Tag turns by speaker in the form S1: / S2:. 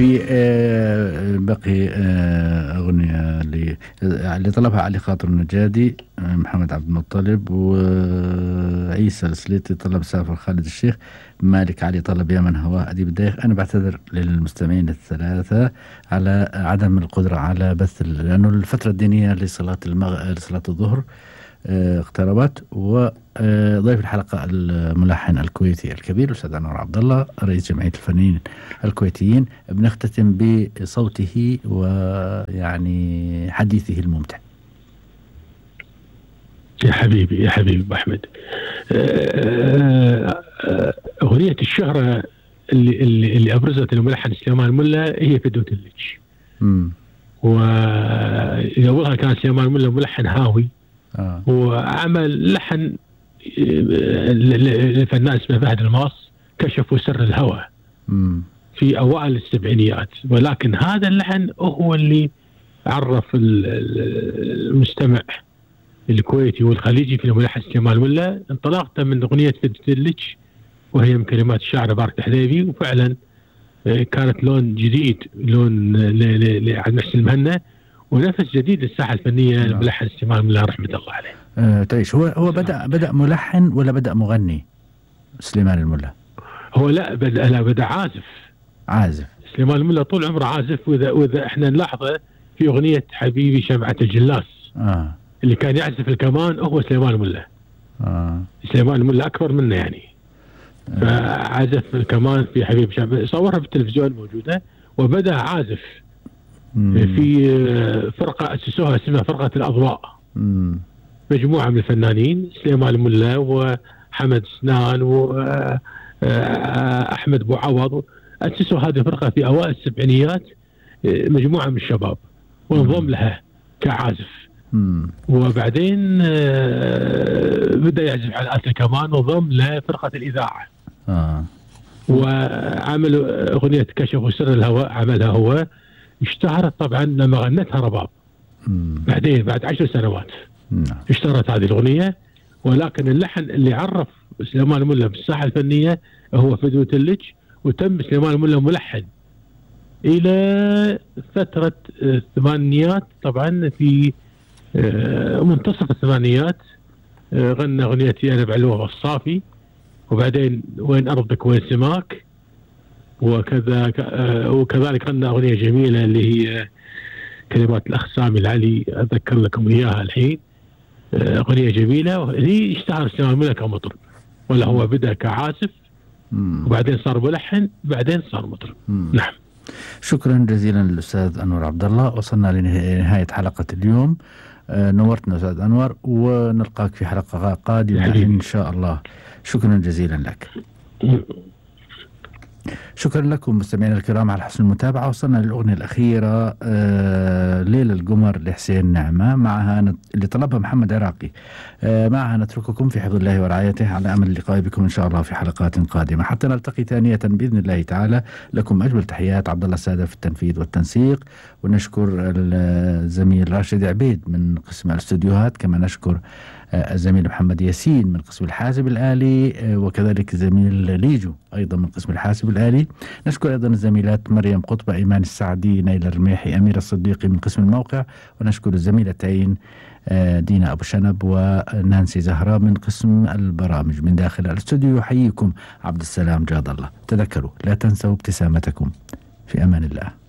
S1: في بقي أغنية اللي طلبها علي خاطر النجادي، محمد عبد المطلب، وعيسى السليتي طلب سافر خالد الشيخ، مالك علي طلب يا من هواه أديب الدايخ. أنا بعتذر للمستمعين الثلاثة على عدم القدرة على بث لأنه الفترة الدينية لصلاة لصلاة الظهر اقتربت. وضيف الحلقة الملحن الكويتي الكبير الأستاذ أنور عبد الله رئيس جمعية الفنانين الكويتيين. بنختتم بصوته ويعني حديثه الممتع.
S2: يا حبيبي أبو أحمد، أغنية الشهرة اللي أبرزت الملحن سليمان الملا هي فدوة اللج. وأولها كان سليمان الملا ملحن هاوي، وعمل لحن لفنان اسمه فهد الماص كشفوا سر الهوى في أوائل السبعينيات، ولكن هذا اللحن هو اللي عرف المستمع الكويتي والخليجي في الملحن سليمان الملا. انطلاقته من أغنية فدوة اللج وهي من كلمات الشاعر بارك الحديبي، وفعلا كانت لون جديد، لون لعبد المحسن المهنا، ونفس جديد للساحة الفنية الملحن سليمان الملا رحمة الله عليه.
S1: تعيش هو بدأ ملحن ولا بدأ مغني سليمان الملا؟
S2: هو بدأ عازف. سليمان الملا طول عمره عازف، وإذا احنا نلاحظه في أغنية حبيبي شمعة الجلاس اللي كان يعزف الكمان هو سليمان الملا. سليمان الملا أكبر منه يعني، فعزف الكمان في حبيبي شمعة، صورها بالتلفزيون موجودة، وبدأ عازف في فرقة أسسوها اسمها فرقة الأضواء، مجموعة من الفنانين سليمان الملا وحمد سنان وأحمد بوعوض، أسسوا هذه الفرقة في أوائل السبعينيات، مجموعة من الشباب، وانضم لها كعازف. وبعدين بدأ يعزف على آلة الكمان وانضم لفرقة الإذاعة. وعملوا أغنية كشفوا سر الهوى، عملها هو، اشتهرت طبعا لما غنتها رباب. بعدين بعد 10 سنوات اشتهرت هذه الأغنية، ولكن اللحن اللي عرف سليمان الملا بالساحة الفنية هو فدوة اللج. وتم سليمان الملا ملحن إلى فترة الثمانينيات، طبعا في منتصف الثمانينيات غنى أغنيتي أنا بعلوه الصافي، وبعدين وين أرضك وين سماك، وكذلك غنى أغنية جميلة اللي هي كلمات الأخ سامي العلي، أذكر لكم إياها الحين. أغنية جميلة، وهي اشتهر سليمان الملا كمطرب، ولا هو بدأ كعازف وبعدين صار ملحن، بعدين صار مطرب. نعم.
S1: شكرا جزيلا للأستاذ أنور عبد الله. وصلنا لنهاية حلقة اليوم. نورتنا أستاذ أنور، ونلقاك في حلقة قادمة إن شاء الله. شكرا جزيلا لك. شكرا لكم مستمعينا الكرام على حسن المتابعة. وصلنا للأغنية الأخيرة ليلة القمر لحسين نعمة، معها اللي طلبها محمد عراقي. معها نترككم في حفظ الله ورعايته، على أمل اللقاء بكم إن شاء الله في حلقات قادمة حتى نلتقي ثانية بإذن الله تعالى. لكم أجمل تحيات عبد الله السادة في التنفيذ والتنسيق، ونشكر الزميل راشد عبيد من قسم الاستوديوهات، كما نشكر الزميل محمد ياسين من قسم الحاسب الآلي، وكذلك الزميل ليجو أيضا من قسم الحاسب الآلي. نشكر أيضا الزميلات مريم قطبة، إيمان السعدي، نيل الرميحي، أمير الصديقي من قسم الموقع، ونشكر الزميلتين دينا أبو شنب ونانسي زهراء من قسم البرامج. من داخل الاستوديو يحييكم عبد السلام جاد الله. تذكروا لا تنسوا ابتسامتكم. في أمان الله.